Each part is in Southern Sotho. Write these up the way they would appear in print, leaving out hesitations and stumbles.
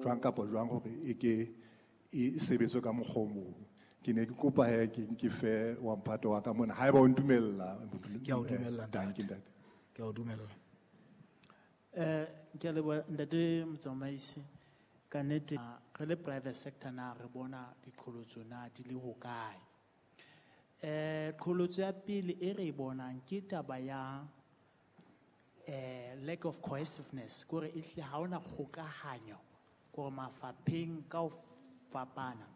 jwang kapa jwang hore e ke e sebetswe ka mokgwa o mong. Ke ne ke kopa he ke fe wa mphato wa ka mona haeba o ntumella. Ke a o dumella, Dankie, ntate. ntate. Ke a o dumella. Ke a leboha, ntate motsamaisi. Ka nnete, re le private sector na re bona diqholotso na di le hokae? Qholotso ya pele e re e bonang ke taba ya lack of cohesiveness, kore ehlile ha hona kgokahanyo kore mafapheng ka ho fapana,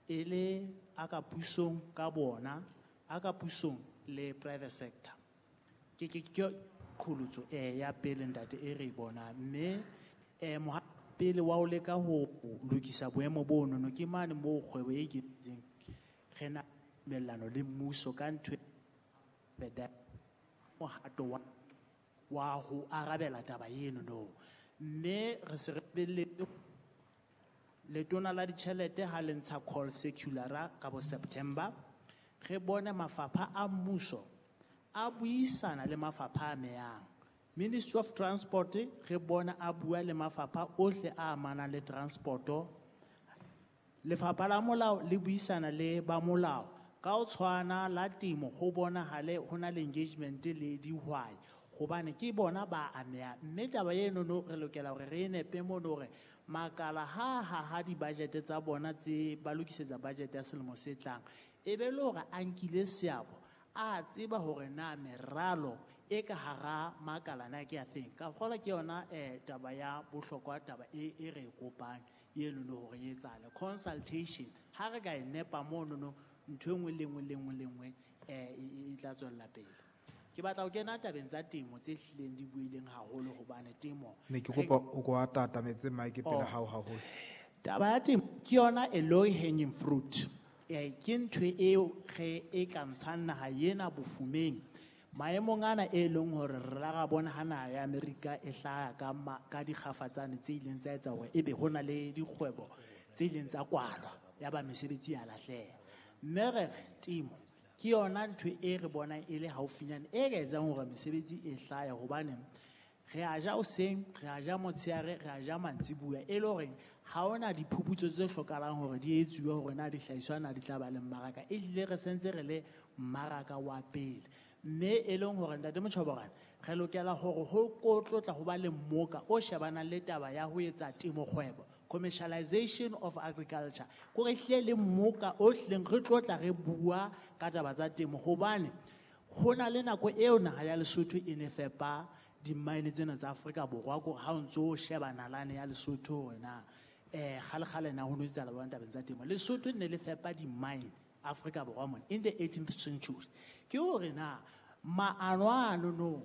e le a ka pusong ka bona, a ka pusong le private sector. Ke qholotso ya pele ntate e re e bonang. Mme pele wa ho leka ho lokisa boemo bono no ke mane moo kgwebo e ikemetseng re na tumellano le mmuso ka ntho e mohato wa ho arabela taba eno no. Mme re se re lebelletse letona la ditjhelete ha le ntsha call circular ka bo September, re bone mafapha a mmuso a buisana le mafapha a amehang. Ministry of Transport re bona a bua le mafapha ohle a amanang le transporto. Lefapha la molao le buisana le ba molao ka ho tshwana la temo, ho bonahale ho na le engagement le dihwai hobane ke bona ba amehang. Mme taba eno no re lokela hore re e nepe mono hore makala ha haha di-budget tsa bona tse ba lokisetsa budget ya selemo se tlang, e be le hore a nkile seabo, a tseba hore na meralo e ka hara makala na ke ya feng. Ka kgolwa ke yona taba ya bohlokwa, taba e re e kopang eno no hore e etsahale. Consultation ha re ka e nepa mono no, ntho e nngwe le nngwe le nngwe le nngwe e tla tswella pele. Ke batla ho kena tabeng tsa temo tse hlileng di buileng haholo hobane temo Ne ke kopa o ko atatametse mic pele Oh. hao haholo. Taba ya temo ke yona a low hanging fruit. Ke ntho eo re e ka ntshang naha ena bofumeng. Maemong ana e leng hore re la ra bona ha naha ya Amerika e hlaha ka dikgafatsane tse ileng tsa etsa hore ebe ho na le dikgwebo tse ileng tsa kwalwa, ya ba mesebetsi ya lahleha. Mme re re temo ke yona ntho e re bonang e le haufinyane e ka etsang hore mesebetsi e hlahe, hobane re a ja hoseng, re a ja motshehare, re a ja mantsibuya, e le horeng ha hona diphuputso tse hlokahalang hore di etsuwe hore na dihlahiswa na di tla ba le mmaraka. Ehlile re sentse re le mmaraka wa pele. Mme e leng hore ntate Motjhoborane, re lokela hore ho tlotla ho ba le mmoka o shebanang le taba ya ho etsa temo kgwebo, commercialization of agriculture. Kore ehlile le mmoka o hlileng re tlotla re bua ka taba tsa temo, hobane ho na le nako eo naha ya Lesotho e ne fepa di-mine tsena tsa Afrika Borwa, kore ha o ntso o sheba nalane ya Lesotho hore na kgale-kgale na ho no etsahala jwang tabeng tsa temo. Lesotho ne le fepa di-mine Afrika Borwa mona in the 18th century. Ke hore na maano ano no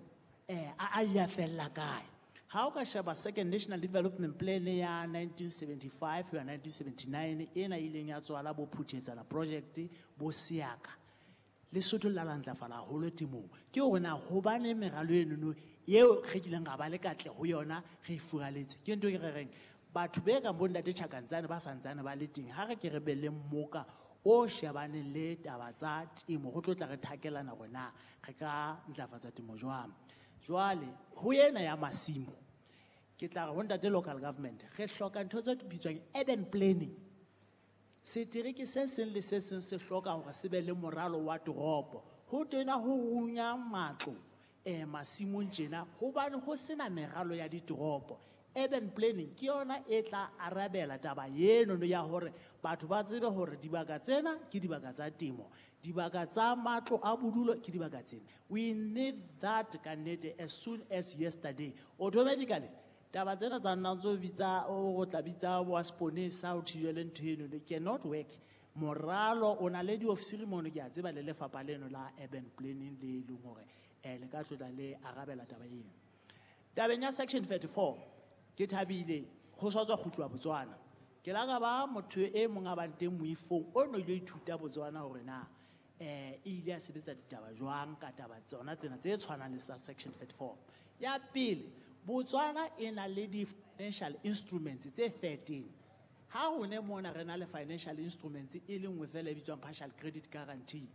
a ya fella kae? Ha o ka sheba Second National Development Plan ya 1975 ho ya 1979, ena e ileng ya tswala bo Phuthetsana project, bo Seaka, Lesotho le la ntlafala haholo temong. Ke hore na hobane meralo eno no eo re kileng ra ba le katleho ho yona re e furaletse. Ke ntho e re reng batho be kang bo ntate Tjhakantsane ba santsane ba le teng, ha re ke re be le mmoka o shebaneng le taba tsa temo, ho tlo tla re thakelana hore na re ka ntlafatsa temo jwang. Jwale ho ena ya masimo, ke tla re ho ntate local government, re hloka ntho tse bitswang urban planning. Setereke se seng le se seng se hloka hore se be le moralo wa toropo. Ho tena ho runya matlo masimong tjena, hobane ho sena meralo ya ditoropo. Urban planning ke yona e tla arabela taba eno no ya hore batho ba tsebe hore dibaka tsena ke dibaka tsa temo, dibaka tsa matlo a bodulo ke dibaka tsena. We need that ka nnete as soon as yesterday. Automatically taba tsena tsa nna ntso bitsa, o tla bitsa wa seponesa ho thibele ntho eno, they cannot work. Moralo o na le diofisiri mono, ke a tseba le lefapha leno la urban planning le leng hore le ka tlotla le arabela taba eno. Tabeng ya section 34, ke thabile ho sa tswa kgutluwa Botswana. Ke la ka ba motho e mong a bang teng moifong o no ile ithuta Botswana hore na e ile ya sebetsa ditaba jwang ka taba tsona tsena tse tshwanang le sa section 34. Ya pele, Botswana e na le di-financial instruments tse 13. Ha rone mona re na le financial instruments e le nngwe fela e bitswang partial credit guarantee.